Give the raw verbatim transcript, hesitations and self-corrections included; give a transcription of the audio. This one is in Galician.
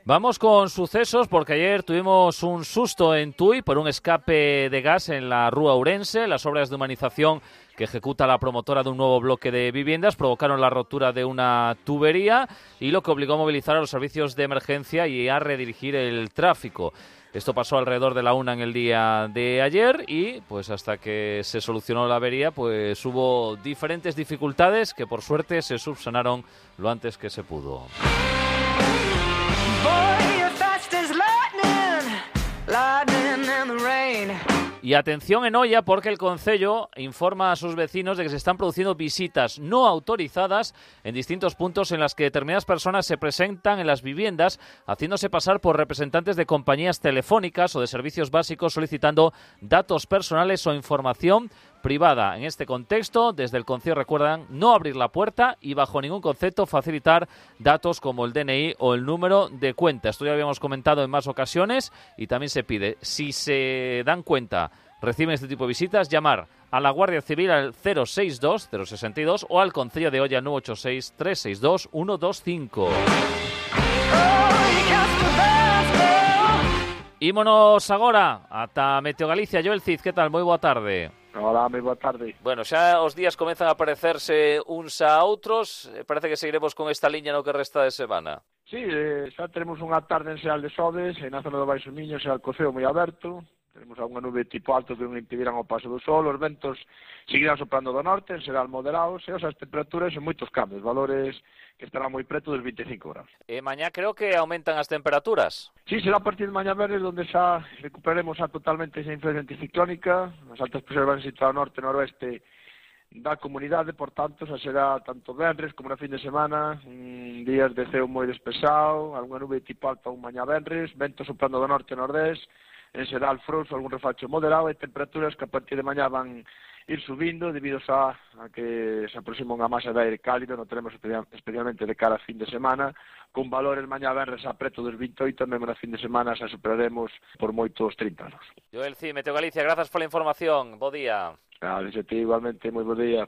Vamos con sucesos porque ayer tuvimos un susto en Tui por un escape de gas en la Rúa Ourense. Las obras de humanización que ejecuta la promotora de un nuevo bloque de viviendas provocaron la rotura de una tubería y lo que obligó a movilizar a los servicios de emergencia y a redirigir el tráfico. Esto pasó alrededor de la una en el día de ayer y pues hasta que se solucionó la avería pues hubo diferentes dificultades que por suerte se subsanaron lo antes que se pudo. Y atención en Oia porque el concello informa a sus vecinos de que se están produciendo visitas no autorizadas en distintos puntos en las que determinadas personas se presentan en las viviendas haciéndose pasar por representantes de compañías telefónicas o de servicios básicos solicitando datos personales o información privada. En este contexto, desde el concello recuerdan no abrir la puerta y bajo ningún concepto facilitar datos como el D N I o el número de cuenta. Esto ya lo habíamos comentado en más ocasiones y también se pide, si se dan cuenta, reciben este tipo de visitas, llamar a la Guardia Civil al cero seis dos cero seis dos o al Concello de Oia nueve ocho seis tres seis dos uno dos cinco. Ímonos agora ata Meteo Galicia. Joel Cid, que tal? Moi boa tarde. Hola, moi boa tarde. Bueno, xa os días comezan a parecerse uns a outros. Parece que seguiremos con esta liña no que resta de semana. Sí, eh, xa teremos unha tarde en Seal de Sodes, e na zona do Baixo Miño xa o coceo moi aberto. Tenemos unha nube tipo alto que non impedirán o paso do sol, os ventos seguirán soprando do norte, serán moderados, e as temperaturas en moitos cambios, valores que estarán moi preto dos vinte e cinco graus. E mañá creo que aumentan as temperaturas. Sí, será a partir de mañá verdes onde xa recuperaremos a totalmente esa influencia anticiclónica, as altas presiones van a situar ao norte e noroeste da comunidade, por tanto, xa será tanto venres como na fin de semana, mm, días de ceo moi despexado, algunha nube tipo alta un mañá venres, vento soprando do norte e nordés, en xeral frouxo, algún refacho moderado e temperaturas que a partir de mañá van ir subindo debido a, a que se aproxima unha masa de aire cálido, non tenemos especialmente de cara a fin de semana, con valores mañá venres a preto dos vinte e oito, mesmo na fin de semana xa superaremos por moitos trinta anos. Joel Cid, Meteo Galicia, grazas pola información, bo día. Claro, igualmente, moi bo día.